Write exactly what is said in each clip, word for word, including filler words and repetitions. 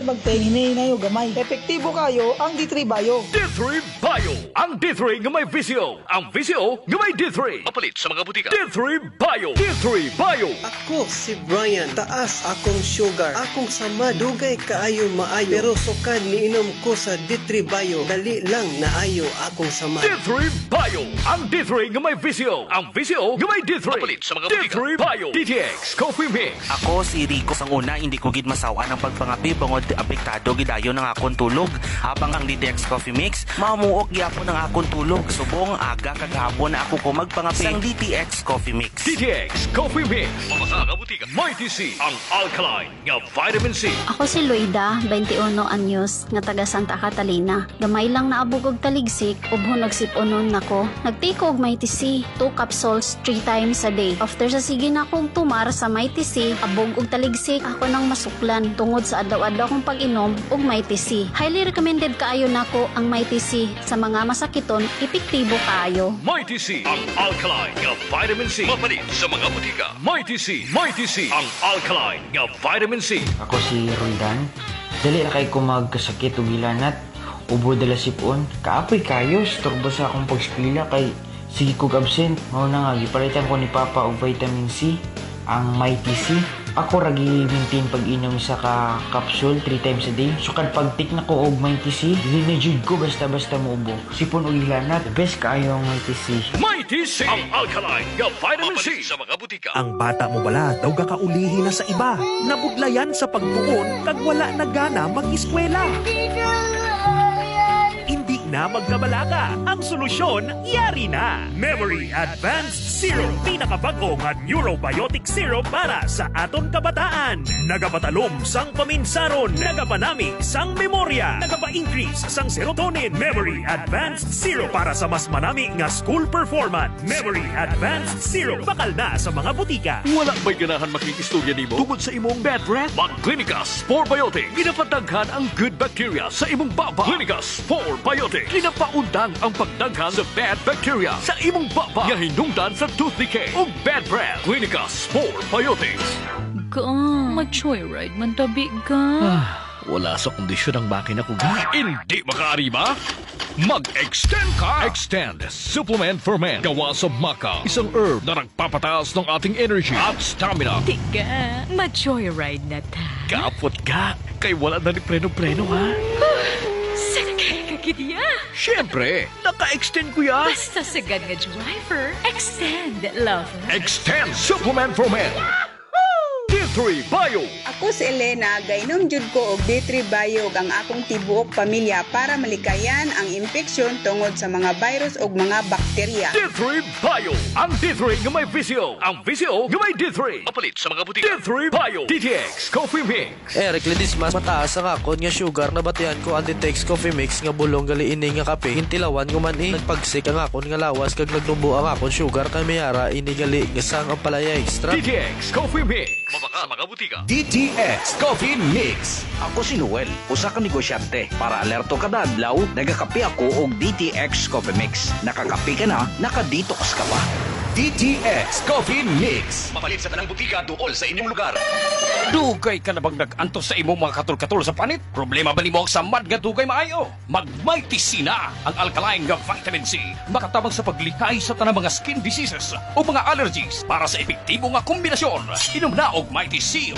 magteng hinahinay o gamay. Epektibo kayo ang D three Bio. D three Bio. Ang D three nga may V C O. Ang V C O nga may D three. Mapalit sa mga butika. D three Bio. D three Bio. Ako si Brian, taas akong sugar. Akong samad, dugay kaayo maayo. Pero sukad niinom ko sa D three Bio, dali lang naayo akong samad. D three Bio. Ang D three nga may V C O. Ang V C O nga may D three. Mapalit sa mga butika. D three Bio. D T X Coffee Mix. Ako si Rico. Sang una, hindi ko gid masawan ang pagpangapi bangod apektado gidayon ang akong tulog. Habang ang D T X Coffee Mix, mamuok gyapon ang akong tulog. Subong aga kag hapon na ako ko magpangapi sang D T X Coffee Mix. D T X Coffee Mix. Mabasa nga butika. Mighty C. Ang alkaline nga vitamin C. Ako si Loida, twenty-one anyos, nga taga Santa Catalina. Gamay lang naabog og taligsik, ubhon nagsipunon nako. Nag-take og Mighty C, two capsules three times a day. After sa sige na akong tumar sa Mighty C, abog og taligsik, ako nang masuklan tungod sa adlaw-adlaw kong pag-inom og Mighty C. Highly recommended kaayo nako ang Mighty C sa mga masakiton, epektibo kaayo. Mighty C. Ang alkaline nga vitamin C. Mapalit sa mga butika. Mighty C. Mighty C. Ang alkaline nga vitamin C. Ako si Roldan. Dali ra kay ko magkasakit ug hilanat. Ubo dala sipon. Kaapoy kayo, storbo sa akong pagskwela kay sige kog absent. Mao na nga gipalitan ko ni Papa og vitamin C, ang Mighty C. Ako ra gi-maintain pag-inom sa ka capsule three times a day. Sukad pag-take na ko og Mighty C, dili na jud ko basta-basta muubo. Sipon ug hilanat, the best kaayo ang Mighty C. Mighty C. Ang alkaline nga vitamin C. Sa mga butika. Ang bata mo bala daw gakaulihi na sa iba. Nabudlayan sa pagtuon kag wala na gana mag-eskwela. Hindi na magkabalaka. Ang solusyon, yari na. Memory Advanced Syrup. Pinakabago nga neurobiotic syrup para sa aton kabataan. Nagapatalom sang paminsaron. Nagapanami sang memorya. Nagapa-increase sang serotonin. Memory Advanced Syrup para sa mas manami nga school performance. Memory Advanced Syrup. Bakal na sa mga butika. Wala ba'y ganahan makikistorya nimo tungod sa imong bad breath? Mag-Clinica Spore Biotic. Ginapadaghan ang good bacteria sa imong baba. Clinica Spore Biotic. Ginapaundang ang pagdaghan sa bad bacteria sa imong baba nga hinungdan sa tooth decay ug bad breath. Clinica Spore Biotics. Ga, ma-joyride man tabi ga. Wala sa kondisyon ang makina ko ga. Hindi makaarima? Mag-extend ka! Extend Supplement for Men. Gawa sa maca. Isang herb na nagpapataas ng ating energy at stamina. Tiga, ma-joyride na ta. Kapot ka. Kay wala na ni preno-preno ha. Sakay ka gidya. Siyempre, naka-extend ko ya. Basta sagad nga driver, extend, lover. Extend Supplement for Men. D three Bio. Ako si Elena, gainom jud ko og D three Bio ug ang akong tibuok pamilya para malikayan ang impeksyon tungod sa mga virus ug mga bakterya. D three Bio. Ang D three nga may V C O. Ang V C O nga may D three. Mapalit sa mga butika. D three Bio. D T X Coffee Mix. Eric Ledesma, mataas ang akon nga sugar, nabatian ko ang D T X Coffee Mix nga bulong gali ini nga kape. Gintilawan ko man eh. Nagpagsik ang akon nga lawas kag nagnubo ang akon sugar kay mayara ini gali nga sang ampalaya extra. D T X Coffee Mix. Mabaka sa mga butika. D T X Coffee Mix. Ako si Noel, usa ka negosyante. Para alerto kada adlaw, nagakape ako og D T X Coffee Mix. Nakakape ka na, naka-detox ka pa. D T X Coffee Mix. Mapalit sa tanang butika duol sa inyong lugar. Dugay ka na bang nag-antos sa imong mga katul-katul sa panit? Problema ba nimo ang samad nga dugay maayo? Mag-Mighty C na ang alkaline nga vitamin C. Makatabang sa paglikay sa tanang mga skin diseases o mga allergies para sa epektibo nga kombinasyon. Inom na og Mighty C.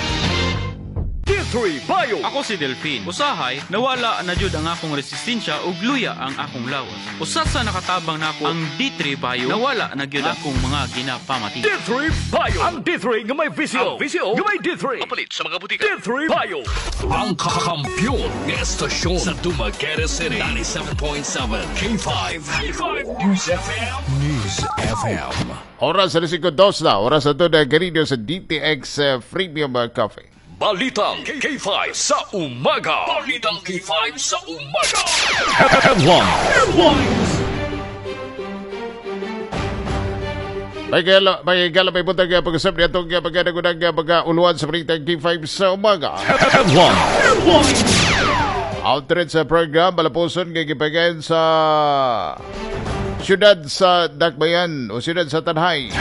D three Bio. Ako si Delphine. Usahay, nawala na jud ang akong resistensya ug luya ang akong lawas. Usa sa nakatabang nako ang D three Bio, nawala na gyud akong mga ginapamati. D three Bio. Ang D three nga may V C O. Ang V C O nga may D three. Mapalit sa mga butika. D three Bio. Ang kakampiyon nga estasyon sa Dumaguete City. ninety-seven point seven K five. K five News F M. News F M. Oras sa singko dos na. Oras na ito na ganito sa D T X uh, Premium uh, Coffee. Balitang K five sa umaga. Balitang K five sa umaga. Headline. Headlines. May gala, may gala, may buntag pag-usap niya itong pagkanagunang mga uluan sa Balitang K five sa umaga. Headline. Headlines. Outreach sa program, malapuson, gigipagan sa Siyudad sa Dakbayan o siyudad sa Tanhay.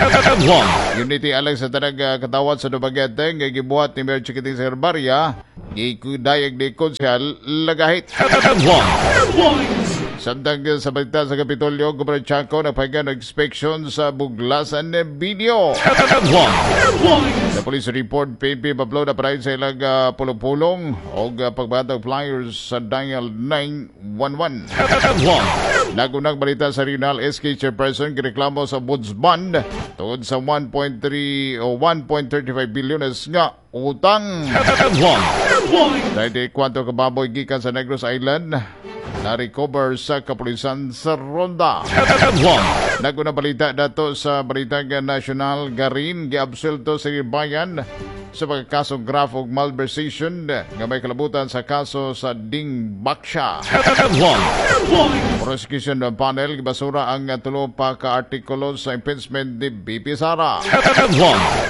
Unity alang sa tanang uh, katawhan sa Dumaguete nga gibuhat ni Mayor Chiquiting Sagarbarria, gidayag ni Konsehal Lagahit. Samtang sa balita sa Kapitolyo, Gobernador Chaco nagpahinga ng inspection sa Buglasan video. Sa police report, P P Pablo na parahin sa ilang uh, pulong-pulong o uh, pagbatag flyers sa dial nine one one. Nagunang balita sa Regional S K Chairperson gireklamo sa Ombudsman tungod sa one point three o one point three five bilyones nga utang. Dahil di kwanto kababoy gikan sa Negros Island na-recover sa kapulisan sa Ronda. Naguna balita dato sa Balitang National, Garin giabsulto sa bayan sa pagkakasong graft og malversation nga may kalabutan sa kaso sa Dingbaksha. Prosecution panel gibasura ang tulo pa ka artikulo sa impeachment ni B P Sara.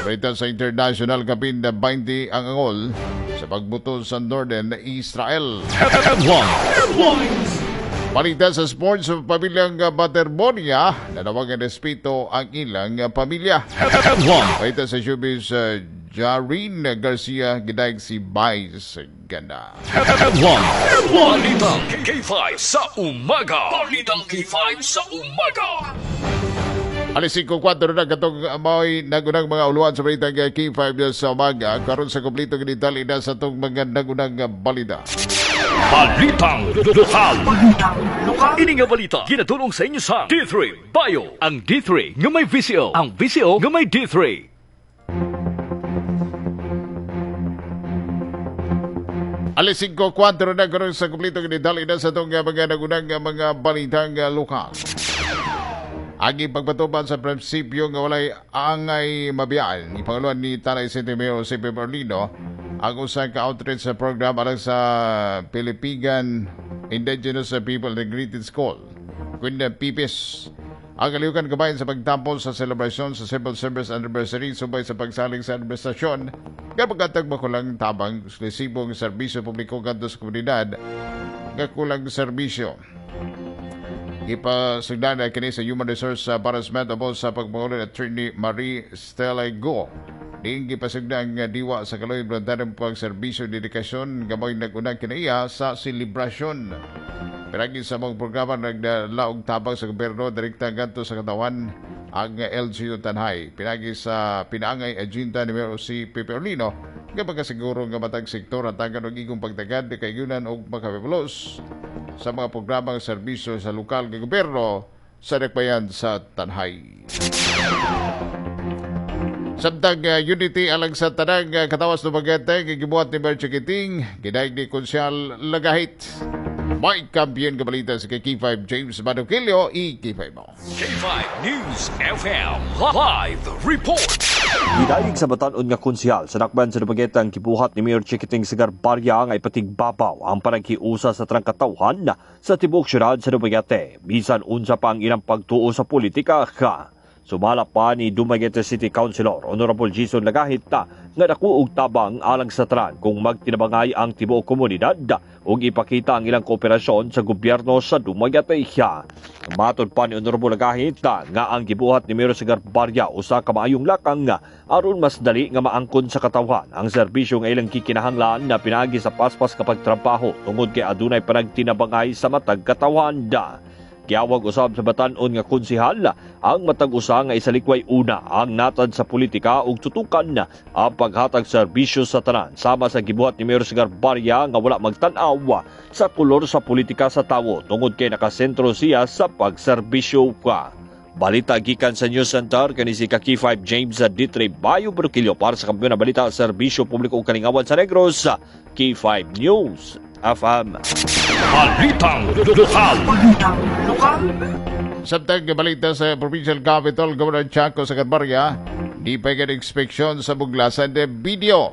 Balita sa international, kapin na twenty ang angol sa pagbuto sa Northern Israel. Balita sa sports, sa pamilyang Baterbonia, nanawagan respeto ang ilang pamilya. Balita sa showbiz, uh, Jarin Garcia gidaig si Vice Ganda. Balitang K five sa umaga. Balitang K five sa umaga. Alas singko kwatro na katong mao'y nagunang mga uluan sa balitang K five sa umaga. Karon sa kompleto detalye na sa itong mga nagunang balita. Balitang Lokal. Ini nga balita ginatulong sa inyo sa D three Bio. Ang D three nga may V C O, ang V C O nga may D three. Alas singko kwatro na karon sa kompleto detalye na sa itong mga nagunang mga balitang lokal. Agi pagpatuban sa prinsipyo nga walay angay mabiyaan, ipanguluan ni Tanay City Mayor Jose P. Orlino ang usa ka outreach sa program alang sa Pilipigan Indigenous People Integrated School, kun P I P I S. Ang kalihukan kabayan sa pagtapos sa selebrasyon sa Civil Service Anniversary subay sa pagsalig sa administrasyon nga pagkatag makulang tabang eksklusibong serbisyo publiko kadto sa komunidad nga kulang serbisyo. Ipasugdan na kini sa Human Resource Management about sa pagpangulo ni Attorney Marie Stella Go. Diin gipasugdan nga diwa sa kaloy voluntaryong pagserbisyo dedikasyon gamay nagunang kinaiya sa selebrasyon. Piragi sa mga programa nagdalaog tabang sa gobyerno direkta ngadto sa katawan ang L G U Tanay. Pinagi sa pinaangay agenda ni Mayor si Pepe Orlino nga pagkasiguro nga matag sektor hatagan og igong pagtagad kayunan og makapipulos sa mga programang serbisyo sa lokal nga gobyerno sa Dakbayan sa Tanay. Samtang uh, unity alang sa tanang uh, katawas Dumaguete gigibuhat ni Mayor Chiquiting, gidaig ni Konsehal Lagahit. May kampiyon kabalita sa K five James Madokilio, i K five mo. K five News F M Live Report. Gidayeg sa batan-on nga konsehal sa Dakbayan sa Dumaguete ang gibuhat ni Mayor Chiquiting Sagarbarria nga ipatigbabaw ang panaghiusa sa tanang katawhan sa tibuok syudad sa Dumaguete bisan unsa pa ang ilang pagtuo sa politika. Sumala pa ni Dumaguete City Councilor Honorable Jason Lagahit nga dako og tabang alang sa tanan kung magtinabangay ang tibuok komunidad ug ipakita ang ilang kooperasyon sa gobyerno sa Dumaguete. Matod pa ni Honorable Lagahit nga ang gibuhat ni Mayor Sagarbarria usa ka maayong lakang aron mas dali nga maangkon sa katawhan ang serbisyo nga ilang kikinahanglan na pinaagi sa paspas kapag trabaho tungod kay adunay panagtinabangay sa matag katawhan. Giawag usab sa batan-on nga konsehal ang matag usa nga isalikway una ang natad sa politika ug tutukan ang paghatag serbisyo sa tanan sama sa gibuhat ni Mayor Sagarbarria nga wala magtan-aw sa kolor sa politika sa tawo tungod kay nakasentro siya sa pagserbisyo ka. Balita gikan sa News Center kani si K five James Ditre Bayo Brukilio para sa Kampiyon na Balita Serbisyo Publiko ug Kalingawan sa Negros, K five News F M. Balitang Lokal. Balitang Lokal. Samtang balita sa Provincial Capital, Governor Chaco Sagarbarria, di pa inspeksyon sa Buglasan de Video.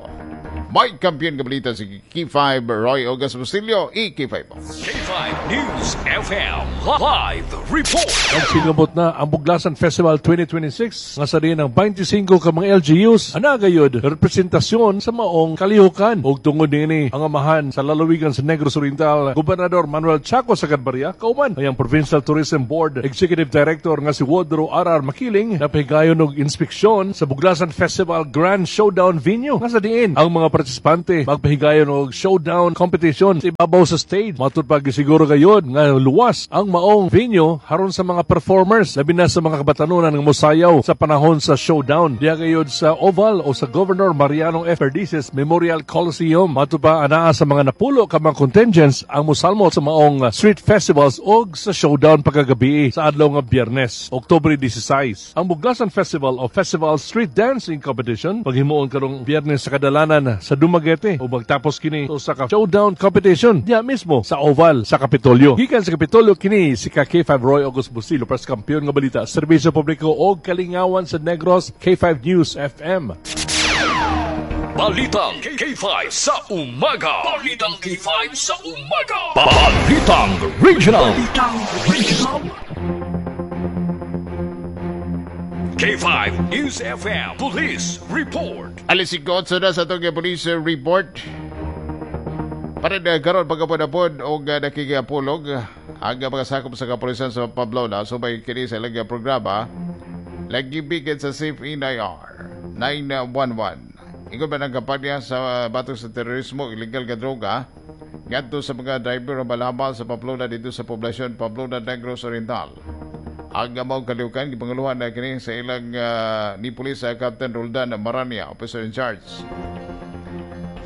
May kampiyon kabalita si K five Roy Ogas Bustillo, i K five. K K five News F M Live Report. Nagsinabot na ang Buglasan Festival twenty twenty-six nga sa diin ang twenty-five ka mga L G Us ana gayud representasyon sa maong kalihukan. Ug tungod niini, ang amahan sa lalawigan sa Negros Oriental, Gobernador Manuel Chaco Sagarbarria, kauban ang Provincial Tourism Board Executive Director nga si Woodrow R R. Makiling, napahigayon og inspeksyon sa Buglasan Festival Grand Showdown venue nga sa diin ang mga partisipante magpahigayon og showdown competition sa ibabaw sa stage. Matud pa, gisiguro gayud nga luwas ang maong venue haron sa mga performers, labi na sa mga kabatanunan nga mosayaw sa panahon sa showdown. Diha gayud sa Oval o sa Governor Mariano F. Perdices Memorial Coliseum. Matud pa, anaa sa mga napulo ka mga contingents ang mosalmo sa maong street festivals og sa showdown pagkagabi sa adlaw nga Biyernes, Oktubre sixteen. Ang Buglasan Festival o Festival Street Dancing Competition paghimuon karong Biyernes sa kadalanan sa Dumaguete ug magtapos kini sa ka showdown competition diha mismo sa Oval sa Kapitolyo. Gikan sa Kapitolyo, kini si ka K five Roy August Busilo para sa kampeon nga balita, serbisyo publiko og kalingawan sa Negros, K five News F M. Balitang K five sa umaga. Balitang K five sa umaga. Balitang Regional. Balitang Regional. K five News F M Police Report. Alas singko na sa atong police report. Para na karon pagkapod-apod og uh, nakigapulog ang mga sakop sa kapulisan sa Pamplona subay kini sa ilang programa lagi bikin sa Safe N I R nine one one. Ingon ba ng kampanya sa batok sa terorismo, illegal nga droga, ngadto sa mga driver o balabal sa Pamplona dito sa poblasyon Pamplona, Negros Oriental. Ang maong kalihukan gipanguluhan na kini sa ilang uh, ni Police Captain Roldan Marania, officer in charge.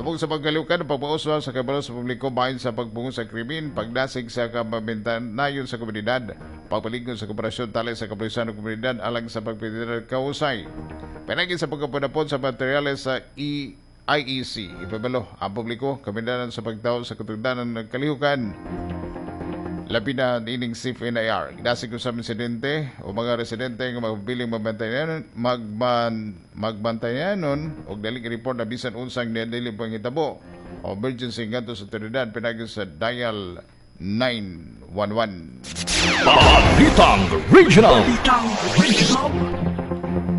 Tubog sa pagkalihukan, pagpauswa sa kabalo sa publiko bahin sa pagpungon sa krimen, pagdasig sa kabantanayon sa komunidad, pagpaligong sa kooperasyon tali sa kapulisan ng komunidad alang sa pagpinitiran kausay. Pinagi sa pagkapunapon sa materyales sa E I E C, ipabalo ang publiko, kamindanan sa pagtawo sa katugdanan ng kalihukan. Labi na ining Safe N I R. Gidasig ko sa residente o mga residente nga magbiling magbantayan magban magbantayanon og daling report na bisan unsang dili panghitabo o emergency ngadto sa otoridad pinagi sa dial nine one one. Balitang Regional. Balitang Regional.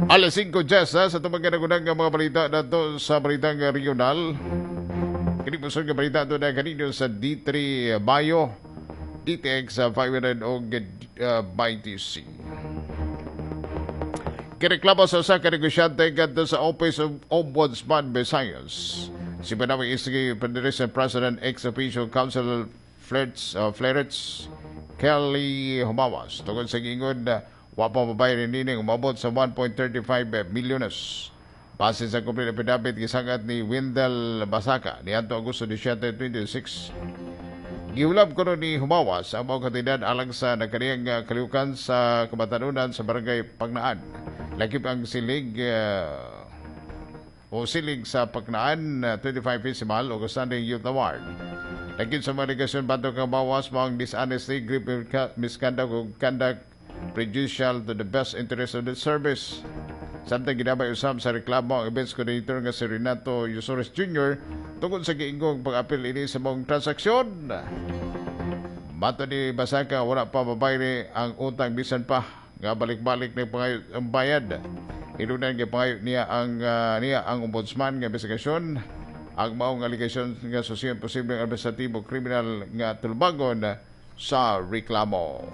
Alas singko Jess ha, sa itong mga nga mga balita nato sa balitang regional. Kini po nga balita ito na kanino sa D three Bio D T X uh, five hundred o uh, B T C. Kireklamo sa usa ka negosyante ngadto sa Office of Ombudsman Visayas si Banawe City Federation President ex officio Council Flerts, uh, Flerets Kelly Humawas tungod sa giingon uh, wa pa mabayad nining umabot sa one point three five milyones. Base sa complete affidavit gisangat ni Wendell Basaka niadto Agosto seventeen, twenty-six. Giulab kuno ni Humawas ang mga kantidad alang sa nagkaniyang uh, kalihukan sa kabatanunan sa barangay Pagnaan. Lakip ang silig uh, o silig sa Paknaan uh, twenty-five Festival o Standing Youth Award. Lakip sa mga alegasyon batok kang Humawas mao ang dishonesty, grave misconduct o conduct prejudicial to the best interest of the service. Samtang ginabay usab sa reklamo ang events coordinator nga si Renato Yusores Junior tungod sa giingong pag-apil ini sa maong transaksyon. Mato ni Basaka, wala pa mabayri ang utang bisan pa nga balik-balik ni pangayo ang bayad. Hinunan nga pangayo niya ang uh, niya ang ombudsman nga investigasyon ang maong alegasyon nga susiyon posibleng administratibo kriminal nga tulubagon sa reklamo.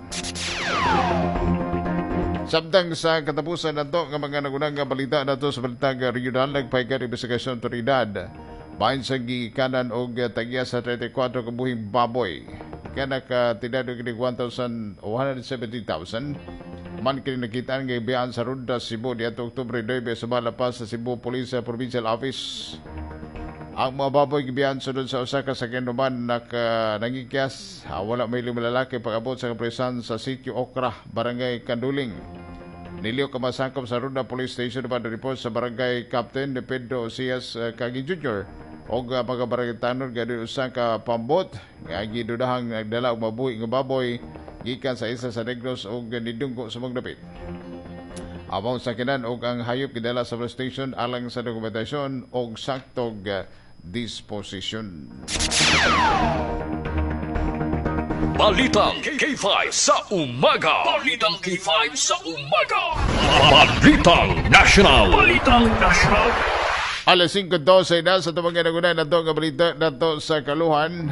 Samtang sa katapusan nato nga mga nagunang nga balita nato sa balitang regional, nagpahigayon investigasyon otoridad bahin sa gikanan og tagya sa thirty-four ka buhing baboy. Kaya nakatidad og kini one thousand one hundred seventy thousand man kini nakitaan nga ibiyaan sa Ronda, Cebu diadto Oktubre nine sa pa sa Cebu Police Provincial Office. Ang mga baboy gibiyaan sunod sa usa ka sakyanan naka nangikyas. Ah, wala may lima lalaki pag-abot sa kapresan sa Sitio Okra, Barangay Canduling. Niliw ka masangkop sa Ronda Police Station pa report sa Barangay Captain ni Pedro Osias uh, Kagi Junior og uh, mga barangay tanod gadi usa ka pambot nga gidudahang nagdala og mabuhi nga baboy gikan sa isa sa Negros og nidunggo sa dapit. Abaw sa kinan og ang hayop gidala sa police station alang sa dokumentasyon og saktog uh, disposition. Balitang K five sa umaga. Balitang K five sa umaga. Balitang National. Balitang National. Alas singko dose na sa tumang ganagunan na ito ang balita na ito sa Kaluhan.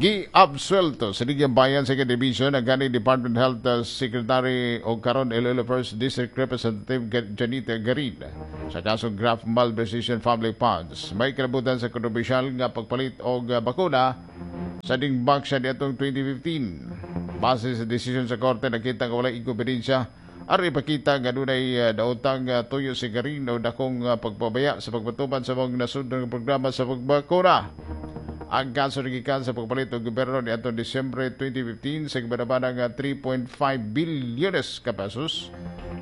Gi-absuelto sa Ligyang Bayan Second Division ang ganing Department Health Secretary o karon Iloilo First District Representative Janita Garin sa kasong graft malversation public funds. May kalabutan sa kontrobersyal nga pagpalit og bakuna sa dingbak siya niadtong twenty fifteen. Base sa desisyon sa korte, nakita nga walay inkompetensya aron ipakita nga dunay daotang tuyo si Garin o dakong pagpabaya sa pagpatuman sa mga nasudnong programa sa pagbakuna. Ang kaso nagikan sa pagpalit og gobyerno niadtong Disyembre twenty fifteen sa gibanabanang three point five bilyones ka pesos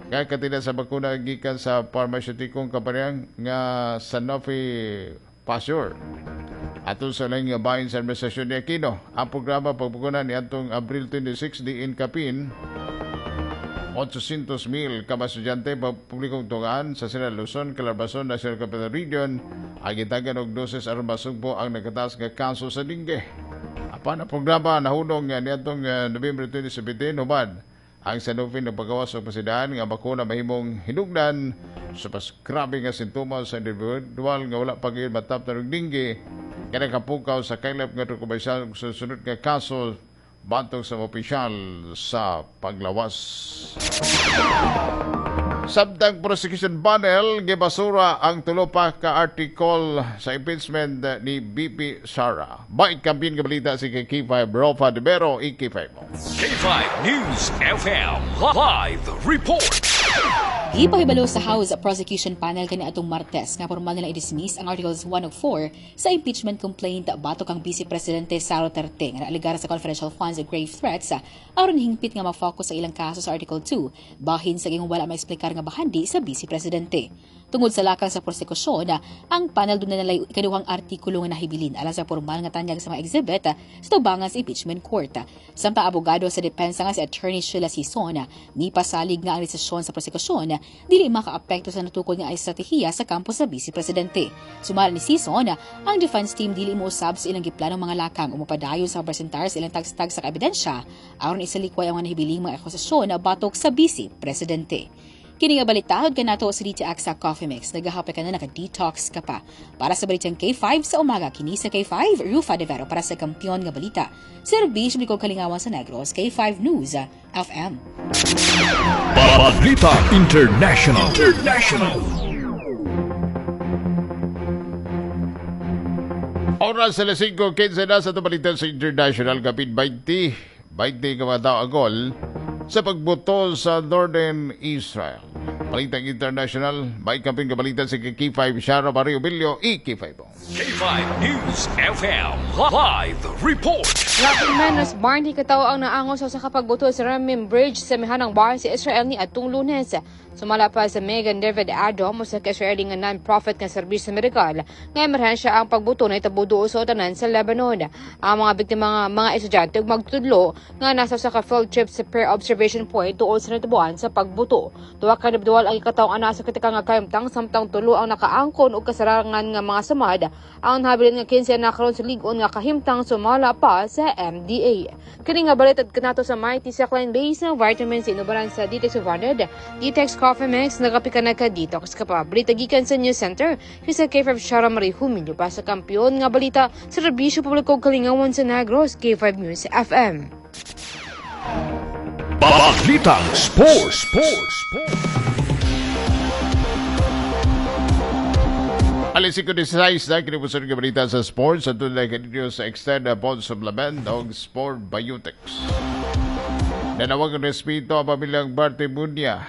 nga katina sa bakuna gikan sa pharmaceuticong kampanyang nga Sanofi Pasteur. Atol sa laing bahin sa administrasyon ni Aquino, ang programa pagbakuna niadtong Abril twenty-six diin kapin eight hundred mil ka mga estudyante publikong tungaan sa Sierra Luzon, Calabarzon, National Capital Region ang gitagan og doses aron masugbo ang nagkataas nga kaso sa dengue. Apan ang programa nahunong niadtong November twenty seventeen human ang Sanofi nagpagawas og pasidaan nga bakuna mahimong hinugnan sa pas grabe nga sintomas sa individual nga wala pa gyud mataptan og dengue nga nakapukaw sa kaylap nga kontrobersyal sa sunod nga kaso bantog sa opisyal sa paglawas. Samtang prosecution panel gibasura ang tulo pa ka article sa impeachment ni B P Sara. May kampin ka balita si K five Rofa de Vero, E K five. K five News F M Live Report. Gipahibalo sa House Prosecution Panel kaniadtong Martes nga pormal nila i-dismiss ang Articles one ug four sa impeachment complaint batok ang Vice Presidente Sara Duterte nga naaligar sa confidential funds ug grave threats aron hingpit nga ma-focus sa ilang kaso sa Article two bahin sa gihong wala maeksplikar nga bahandi sa Vice Presidente. Tungod sa lakang sa prosekusyon, ang panel dunay nalay ikaduhang artikulo nga nahibilin alang sa pormal nga tanyag sa mga exhibit sa tubangan sa impeachment court. Samtang abogado sa depensa nga si Attorney Sheila Sison, nipasalig nga ang desisyon sa prosekusyon dili makaapekto sa natukod nga estratehiya sa kampo sa Vice Presidente. Sumala ni Sison, ang defense team dili mousab sa ilang giplanong mga lakang umupadayon sa presentar sa ilang tagstag sa kaebidensya aron isalikway ang mga nahibiling mga akusasyon na batok sa Vice Presidente. Kini nga balita kanato sa D T X Coffee Mix. Nagahapay ka na, naka-detox ka pa. Para sa balitang K five sa umaga, kini sa K five, Rufa de Vero para sa kampiyon nga balita. Serbisyo ko kalingawan sa Negros, K five News F M. Balita International. International. Oras alas singko kinse na sa balita sa International, kapit twenty, twenty ka mga tao agol sa pagbuto sa Northern Israel. Balitang International, may kamping kabalitan si K five Shara Mario Billo, E K five. K five News F M Live Report. Labing menos Barney katawo ang naangos sa kapagbuto sa Ramim Bridge sa mihanang bayan sa Israel ni atong Lunes. Sumala pa sa Megan David Adom usa ka Israeli nga non-profit nga serbisyo medikal nga emerhensya ang pagbuto na itabo duol sa utanan sa Lebanon. Ang mga biktima nga mga estudyante ug magtudlo nga nasa sa ka field trip sa Peer Observation Point duol sa natabuan sa pagbuto. Duha ka individual ang ikatawong ana sa kritikal nga kahimtang samtang tulo ang nakaangkon og kasarangan nga mga samad. Ang nahabilin nga kinse na karon sa lig-on nga kahimtang sumala pa sa M D A. Kini nga balita kanato sa Mighty Saline Base ng vitamins inubaran sa D T X five hundred, D T X Coffee Mix, nagapi ka nagka-detox ka pa. Balita gikan sa News Center, sa K five Shara Marie Humilyo pa sa kampiyon nga balita sa serbisyo publiko kalingawan sa Negros, K five News F M. Balitang Sports, Sports, Sports. Alas singko siyam na kinipuson ng balita sa sports at tunay kanino sa Extend Bond Supplement o Sport Biotics. Nanawag ang respeto ang pamilyang Bartimunia.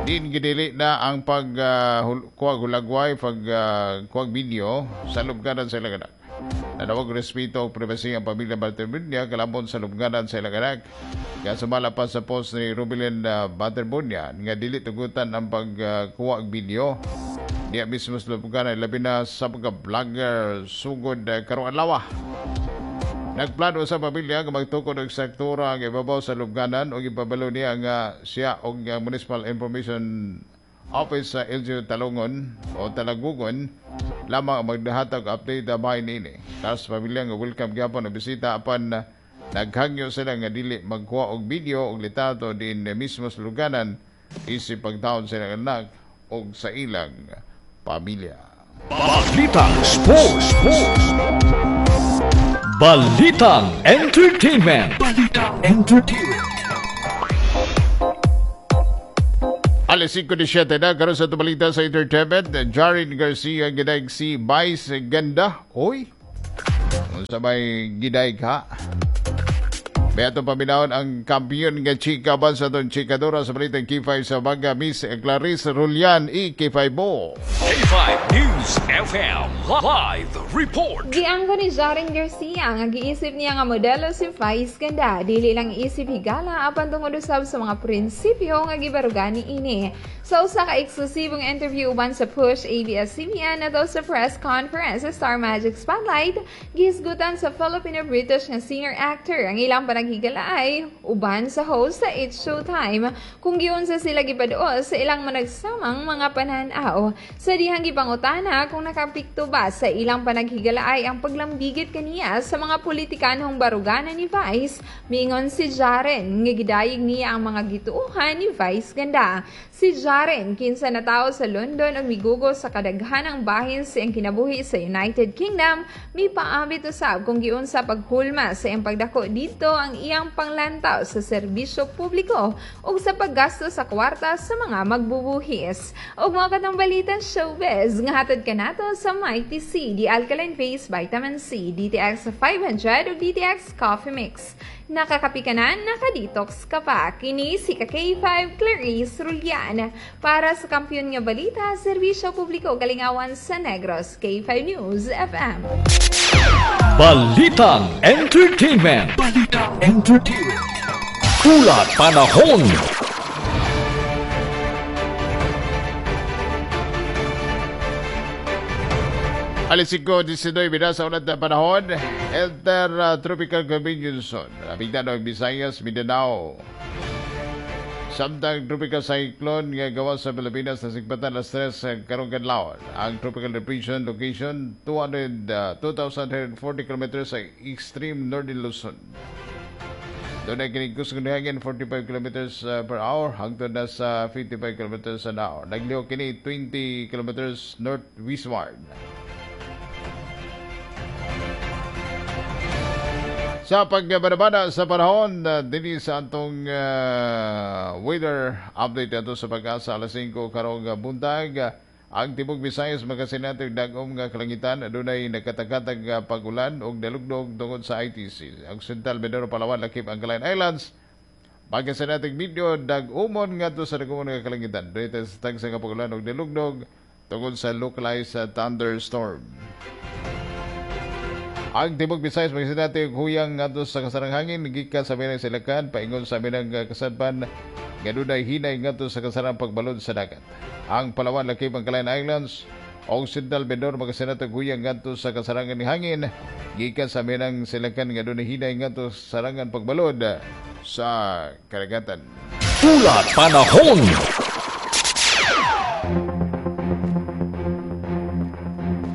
Din ginili na ang pagkuwag uh, hulagway, pagkuwag uh, video sa lubganan sa ilang anak. Nanawag ang respeto ang privasy ang pamilya Bartimunia kalambon sa lubganan sa ilang anak. Kaya sumala pa sa post ni Rubilin uh, Bartimunia nga dili tugutan ang pagkuwag uh, video. Diya mismo sa lubganan, labi na sa pagka-vlogger sugod uh, karong adlaw. Nagplano sa pamilya nga magtukod og sektora ang ibabaw sa lubganan ug ipabalo niya nga siya og Municipal Information Office sa L G U Talungon o Talagugon lamang ang magdahatag update bahin niini. Taas pamilya nga welcome gyapon ang bisita apan uh, naghangyo sila nga dili magkuha og video og litrato din mismo sa luganan isip pagtaon sa ilang anak og sa ilang pamilya. Balitang Sports. Balitang Entertainment. Balitang Entertainment. Alas singko siyete na, karon sa balita sa entertainment, Jaren Garcia gidaig si Vice Ganda. Oy, unsa may gidaig ha? Beato paminawon ang kampiyon nga chika ba sa atong chikadora sa balitang K five sa umaga, Miss Clarice Rulian, i K five mo. K five News F M Live Report. Giangko ni Jaren Garcia nga giisip niya nga modelo si Vice Ganda. Dili lang isip higala apan tungod usab sa mga prinsipyo nga gibarugan niini. Sa usa ka eksklusibong interview uban sa Push A B S C B N adto sa press conference sa Star Magic Spotlight, gihisgutan sa Filipino-British nga singer-actor ang ilang panaghigalaay uban sa host sa It's Showtime kung giunsa sila gipaduol sa ilang managsamang mga pananaw. Sa dihang gipangutana kung nakapikto ba sa ilang panaghigalaay ang paglambigit kaniya sa mga politikanong baruganan ni Vice, miingon si Jaren nga gidayeg niya ang mga gituohan ni Vice Ganda. Si Jaren, kinsa natawo sa London ug migugo sa kadaghanang bahin sa iyang kinabuhi sa United Kingdom, mipaabit usab kung giunsa paghulma sa iyang pagdako didto ang iyang panglantaw sa serbisyo publiko ug sa paggasto sa kwarta sa mga magbubuhis. Ug mao katong balita showbiz nga hatod kanato sa Mighty C, the Alkaline Face Vitamin C, D T X five hundred ug D T X Coffee Mix. Nakakapi ka na, nakadetox ka pa. Kini si K five Clarice Rulian. Para sa kampiyon nga balita, serbisyo publiko kalingawan sa Negros, K five News F M. Balitang Entertainment. Balitang Entertainment. Kulat Panahon. Alas singko diecinuebe na sa ulat na panahon, Enter uh, Tropical Convenience Zone. Napigtan ng Visayas, Mindanao. Samtang tropical cyclone nga gawa sa Pilipinas na sigpatan alas tres karong kadlawon. Ang tropical depression location two hundred, uh, two thousand forty kilometers sa extreme northern Luzon. Doon ay kinigkus ng hangin forty-five kilometers uh, per hour hangtod na sa fifty-five kilometers an hour. Naglihok kini twenty kilometers northwestward. Sa pagbanabana sa panahon, uh, dinhi sa atong uh, weather update ato sa Pag-asa alas singko karong buntag, uh, ang tibok Visayas makasinatog dagom nga kalangitan, adunay nakatakatag uh, pag-ulan og dalugdog tungod sa I T C. Ang Central Mindoro, Palawan, lakip ang Calayan Islands, pagkasinatog medyo dagumon ngadto sa dagumon nga kalangitan. Dunay tagsa nga pag-ulan og dalugdog tungod sa localized uh, thunderstorm. Ang tibok Visayas magsinati huyang ngadto sa kasarang hangin gikan sa minang silakan paingon sa minang kasadpan nga dunay hinay ngadto sa kasarang pagbalod sa dagat. Ang Palawan, lakip ang Calayan Islands ug Central Mindoro magsinati huyang ngadto sa kasarangan ni hangin gikan sa minang silakan nga dunay hinay ngadto sa sarangan pagbalod sa karagatan. Ulat Panahon.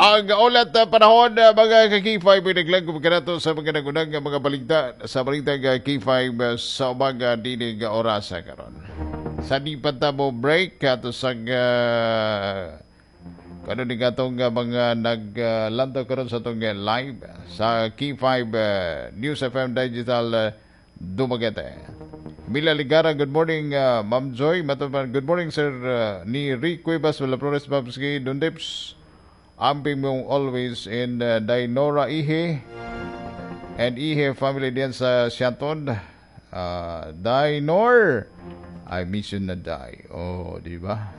Ang ulat na panahon, mga ka-K five, pinaglang kumikanato sa mga nagunang mga balita sa balita ng K five sa umaga dinig orasa karon. Sa di pa tamo break, ato sa uh, kanon ni katong mga naglantaw karon sa atong live sa K five uh, News F M Digital uh, Dumaguete. Mila Ligara, good morning, uh, Ma'am Joy. Matapan, good morning, Sir uh, ni Rick Cuevas, Flores, Babski, Dundips. Amping mong always in uh, Dainora Ihe and Ihe family diyan sa Siaton. Uh, Dainor, I miss you na die. Oh, di ba?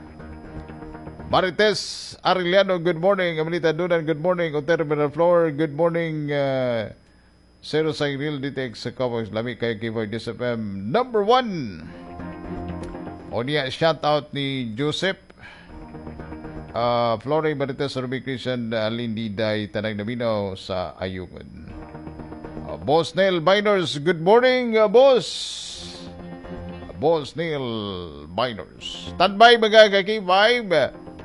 Marites Arellano, good morning. Amelita Dunan, good morning. Otero Miraflor, good morning. Uh, Zero sa Real D T X sa Cowboys. Lami kayo K five D S F M number one. O niya, shout out ni Joseph. Uh, Flore Marites Ruby Christian uh, Lindy Day Tanang Namino sa Ayungon. Uh, Boss Neil Biners, good morning, uh, Boss. Uh, Boss Neil Biners. Standby mga ka-K five.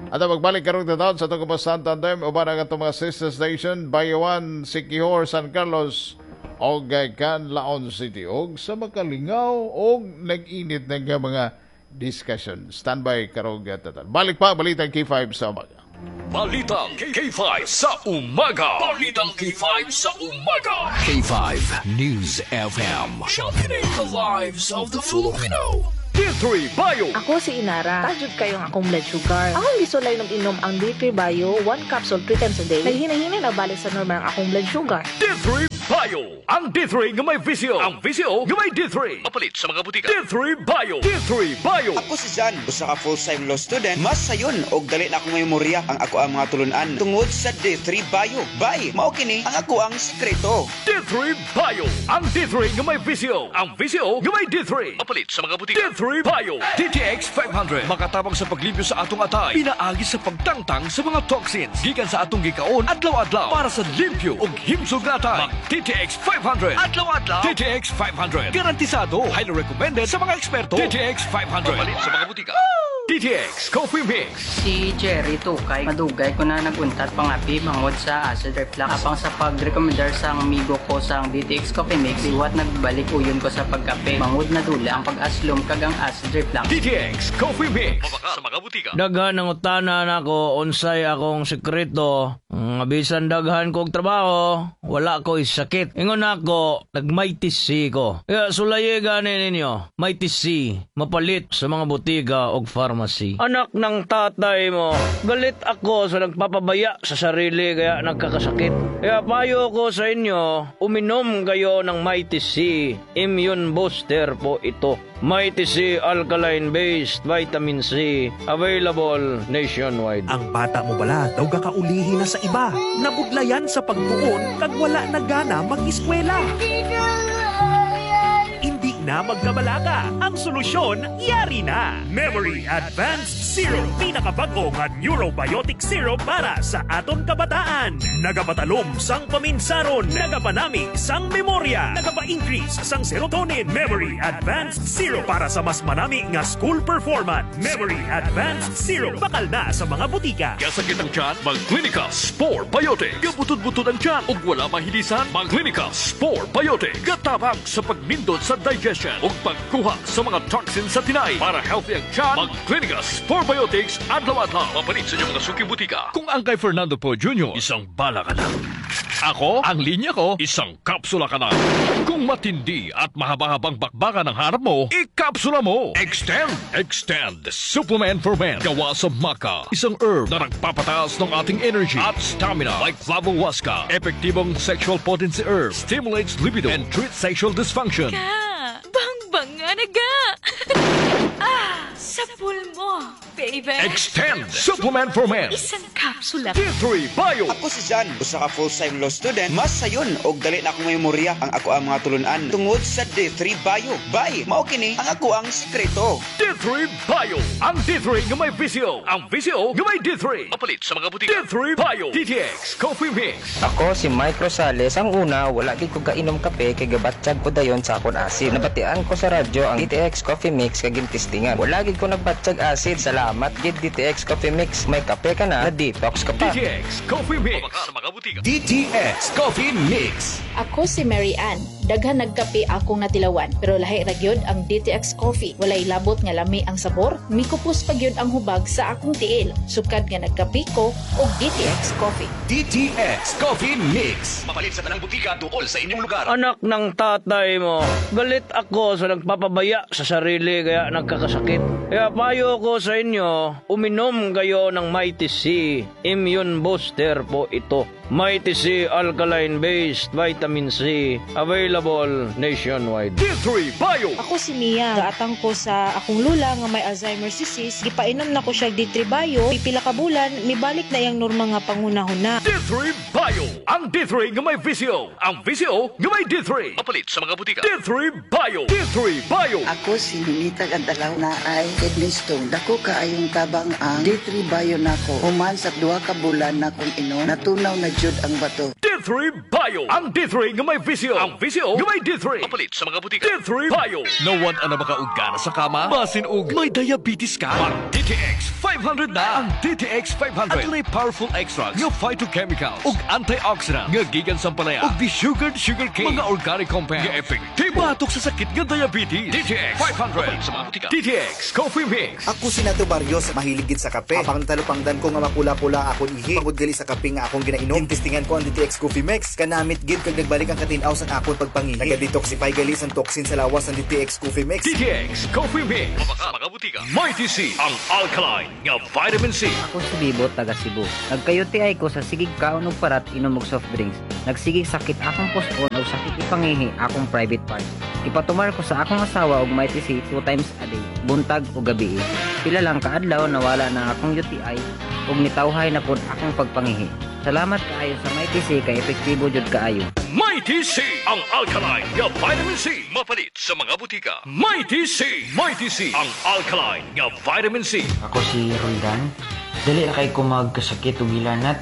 At magbalik karong taon sa atong kabasan tandem uban ang atong mga sister station Bayawan, Siquijor, San Carlos og Canlaon City og sa makalingaw og nag-init ng mga discussion. Standby karong taon. Balik pa Balitang K five sa umaga. Balitang K five sa umaga. Balitang K five sa umaga. K five News F M. Championing the lives of the Filipino. D three Bio. Ako si Inara. Taas jud kaayo ang akong blood sugar. Akong gisulay inom ang D three Bio, one capsule three times a day. Naghinay-hinay na balik sa normal ang akong blood sugar. D three Bio. Ang D three nga may V C O. Ang V C O nga may D three. Mapalit sa mga butika. D three Bio. D three Bio. Ako si Jan, usa ka full-time law student. Mas sayon og dali na akong memorya ang ako ang mga tulunan tungod sa D three Bio. Bay, mao kini ang ako ang sikreto. D three Bio. Ang D three nga may V C O. Ang V C O nga may D three. Mapalit sa mga butika. D three Bio. D T X five hundred. Makatabang sa paglimpyo sa atong atay. Pinaagi sa pagtangtang sa mga toxins. Gikan sa atong gikaon adlaw-adlaw para sa limpyo ug himsog nga atay. Mag D T X five hundred. Adlaw-adlaw. D T X five hundred. Garantisado. Highly recommended sa mga eksperto. D T X five hundred. Mapalit sa mga butika. D T X Coffee Mix. Si Jerry Tukay, madugay ko na naguntat pangapi bangod sa acid reflux. Apang sa pag-recommendar sa amigo ko sa D T X Coffee Mix, liwat nagbalik uyon ko sa pagkape. Bangod na dula ang pag-aslom kag ang acid reflux. D T X Coffee Mix. Mabaka sa mga butika. Daghan ang utana nako unsay akong sekreto. Nga bisan daghan kog trabaho, wala ko sakit. Ingon ako, nag-Mighty C ko. Kaya sulayi gani ninyo, Mighty C, mapalit sa mga butika og pharmacy. Anak ng tatay mo, galit ako sa nagpapabaya sa sarili kaya nagkakasakit. Kaya payo ko sa inyo, uminom kayo ng Mighty C. Immune booster po ito. Mighty C Alkaline Based Vitamin C. Available nationwide. Ang bata mo bala daw gakaulihi na sa iba. Nabudlayan sa pagtuon kag wala na gana mag-eskwela. Hindi na magkabalaka. Ang solusyon, yari na. Memory Advanced Syrup. Pinakabago nga neurobiotic syrup para sa aton kabataan. Nagapatalom sang paminsaron. Nagapanami sang memorya. Nagapa-increase sang serotonin. Memory Advanced Syrup para sa mas manami nga school performance. Memory Advanced Syrup. Bakal na sa mga butika. Gasakit ang tiyan, mag-Clinica Spore Biotic. Gabutod-butod ang tiyan ug wala mahilisan, mag-Clinica Spore Biotic. Gatabang sa pagnindot sa digestion ug pagkuha sa mga toxins sa tinay. Para healthy ang tiyan, mag-Clinica Spore Biotics adlaw-adlaw. Mapalit sa inyong mga suking butika. Kung ang kay Fernando Poe Junior, isang bala ka na. Ako, ang linya ko, isang kapsula ka na. Kung matindi at mahaba-habang bakbakan ang hanap mo, ikapsula mo. Extend! Extend! Supplement for Men. Gawa sa maca. Isang herb na nagpapataas ng ating energy at stamina. Like Flavohuasca. Epektibong sexual potency herb. Stimulates libido and treats sexual dysfunction. Ka! Bang-bang nga naga! Ah! Sa mo, baby! Extend! Supplement for Men. Isang kapsula. D three Bio. Ako si Jan, usa ka full-time law student. Mas sayon og dali na akong memorya ang ako ang mga tulunan tungod sa D three Bio. Bay, mao kini ang ako ang sikreto. D three Bio. Ang D three nga may V C O. Ang V C O nga may D three. Mapalit sa mga butika. D three Bio. D T X Coffee Mix. Ako si Mike Rosales. Ang una, wala gid ko kainom kape kay gabatsyag ko dayon sa akon acid. Nabatian ko sa radyo ang D T X Coffee Mix kag gintistingan. Wala gid ko nagbatsyag acid. Salamat gid, D T X Coffee Mix. May kape ka na, na-detox ka pa. D T X Coffee Mix. Sa mga butika. D T X Coffee Mix. Ako si Mary Ann. Daghan nagkape akong natilawan, pero lahi ra gyud ang D T X Coffee. Walay labot nga lami ang sabor, mikupos pa gyud ang hubag sa akong tiil. Sukad nga nagkape ko og D T X Coffee. D T X Coffee Mix. Mapalit sa tanang butika duol sa inyong lugar. Anak ng tatay mo, galit ako sa nagpapabaya sa sarili kaya nagkakasakit. Kaya payo ko sa inyo, uminom kayo ng Mighty C. Immune booster po ito. Mighty C Alkaline Based Vitamin C. Available nationwide. D three Bio. Ako si Mia. Gaatang ko sa akong lula nga may Alzheimer's disease. Gipainom na ko siya D three Bio. Pipila ka bulan, mibalik na iyang normal nga panghunahuna. D three Bio. Ang D three nga may V C O. Ang V C O nga may D three. Mapalit sa mga butika. D three Bio. D three Bio. Ako si Ninita Gandalaw na ay kidney stone. Dako kaayong tabang ang D three Bio nako. Human sa duha ka bulan na kong inom, natunaw na jud ang bato. D three D three Bio. Ang D three nga may V C O. Ang V C O nga may D three. Mapalit sa mga butika. D three Bio. Nawad na ba ka og gana sa kama? Basin og may diabetes ka? Mag D T X five hundred na. Ang D T X five hundred adunay powerful extracts nga phytochemicals ug antioxidant nga gikan sa ampalaya ug desugared sugar cane, mga organic compound nga epektibo batok sa sakit nga diabetes. D T X five hundred sa mga butika. D T X Coffee Mix. Ako si Nato Barrios, mahilig gid sa kape. Apang talupangdan ko nga mapula-pula akon ihi. Pagod gali sa kape nga akong ginainom. Gintistingan ko ang D T X Coffee Mix. Kanamit gid kag nagbalik ang katinaw sa akon pagpangihi. Naga-detoxify gali sang toxin sa lawas ang D T X Coffee Mix. D T X Coffee Mix. Mabaka mga butika. Mighty C, ang alkaline nga vitamin C. Ako si Bibo, taga Cebu. Nagka-U T I ko sa sigig kaon og parat, inom og soft drinks. Nagsigig sakit akong puson og sakit ipangihi akong private parts. Ipatumar ko sa akong asawa og Mighty C two times a day, buntag o gabi. Pila lang kaadlaw nawala na akong U T I ug nitawhay na pud akong pagpangihi. Salamat kaayo sa Mighty C kay epektibo jud kaayo. Mighty C, ang alkaline nga vitamin C. Mapalit sa mga butika. Mighty C, Mighty C, ang alkaline nga vitamin C. Ako si Roldan. Dali ra kay ko magkasakit og hilanat.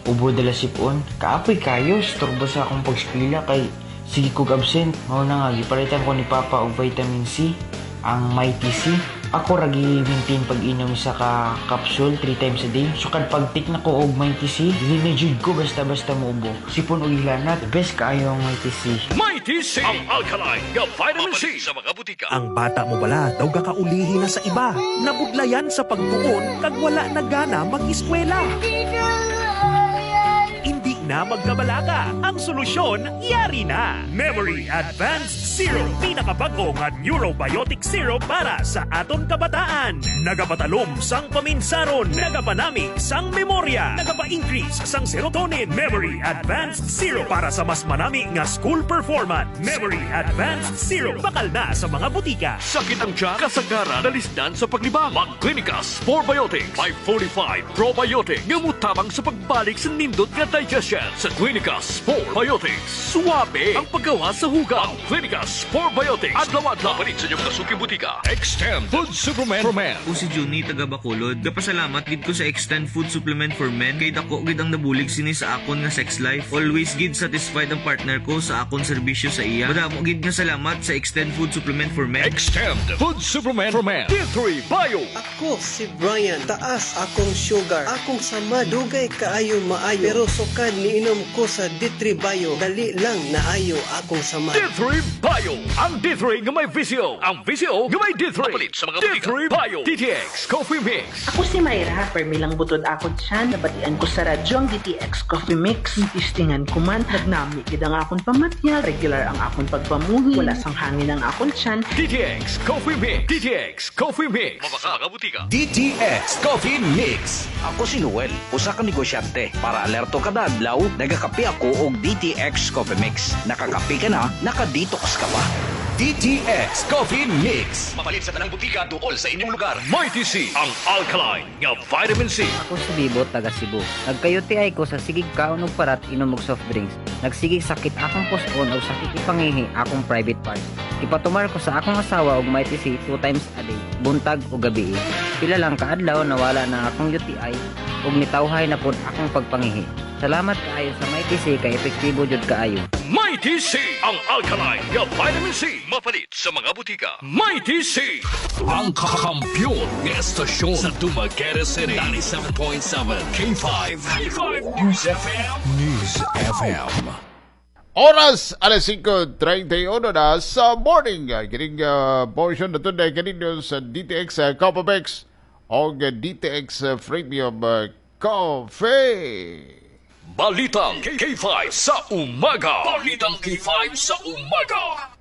Ubo dala sipon. Kaapoy kayo, storbo sa akong pagskwela kay sige kog absent. Mao na nga gipalitan ko ni Papa og vitamin C, ang Mighty C. Ako ra gi-maintain pag-inom sa ka capsule three times a day. Sukad pag-take na ko og Mighty C, dili na jud ko basta-basta muubo. Sipon og hilanat, best kaayo ang Mighty C. Mighty C, ang alkaline nga vitamin C. Sa mga butika. Ang bata mo bala daw gakaulihi na sa iba. Nabudlayan sa pagtuon kag wala na gana mag-eskwela. Hindi na magkabalaka. Ang solusyon, yari na. Memory Advanced Syrup. Pinakabago nga neurobiotic syrup para sa aton kabataan. Nagapatalom sang paminsaron. Nagapanami sang memorya. Nagapa-increase sang serotonin. Memory Advanced Syrup para sa mas manami nga school performance. Memory Advanced Syrup. Bakal na sa mga butika. Sakit ang tiyan, kasagaran, nalisdan sa paglibang. Mag-Clinicas Probiotics by forty-five Probiotic nga mutabang sa pagbalik sa nindot nga digestion. Sa Clinicas Probiotics. Suwabe ang paggawa sa hugaw. Clinicas Probiotics. Adlaw-adlaw. Palit sa inyong mga suking butika. Extend Food Supplement for Men. Ako si Juni, taga Bacolod. Gapasalamat gid ko sa Extend Food Supplement for Men kay dako gid ang nabulig sini sa akon nga sex life. Always gid satisfied ang partner ko sa akon serbisyo sa iya. Madamo gid nga salamat sa Extend Food Supplement for Men. Extend Food Supplement for Men. D three Bio. Ako si Brian. Taas akong sugar. Akong sama dugay kaayo maayo. Pero sukad niinom ko sa D three Bio, dali lang naayo akong sama. D three Bio. Ang D three nga may V C O. Ang V C O nga may D three. Palit sa mga D three Bio. D T X Coffee Mix. Ako si Myra, permi lang butod akon tiyan, nabatian ko sa radyo ang D T X Coffee Mix. Tistingan ko man, nagnami gid ang akon pamatya, regular ang akon pagpamuhi, wala sang hangin ang akon tiyan. D T X Coffee Mix. D T X Coffee Mix. Mabaka mga butika. D T X Coffee Mix. Ako si Noel, usa ka negosyante. Para alerto kada adlaw, nagakape ako og D T X Coffee Mix. Nakakape ka na, naka-detox ka pa. D T X Coffee Mix. Mapalit sa tanang butika duol sa inyong lugar. Mighty C, ang alkaline nga vitamin C. Ako si Bibo, taga Cebu. Nagka-U T I ko sa sigig kaon og parat, inom og soft drinks. Nagsigig sakit akong puson og sakit ipangihi akong private parts. Ipatumar ko sa akong asawa og Mighty C two times a day, buntag o gabi. Pila lang kaadlaw nawala na akong U T I ug nitawhay na pud akong pagpangihi. Salamat kaayo sa Mighty C kay epektibo jud kaayo. Mighty C, ang alkaline nga vitamin C. Mapalit sa mga butika. Mighty C. Ang kakampiyon nga estasyon sa Dumaguete City. ninety-seven point seven K five. K five News F M. News F M. Oras alas singko treinta y uno na sa morning. Kining uh, portion na ito na kaninyo sa D T X uh, Coffee Mix o D T X uh, Premium uh, Coffee. Balitang K five sa umaga. Balitang K five sa umaga.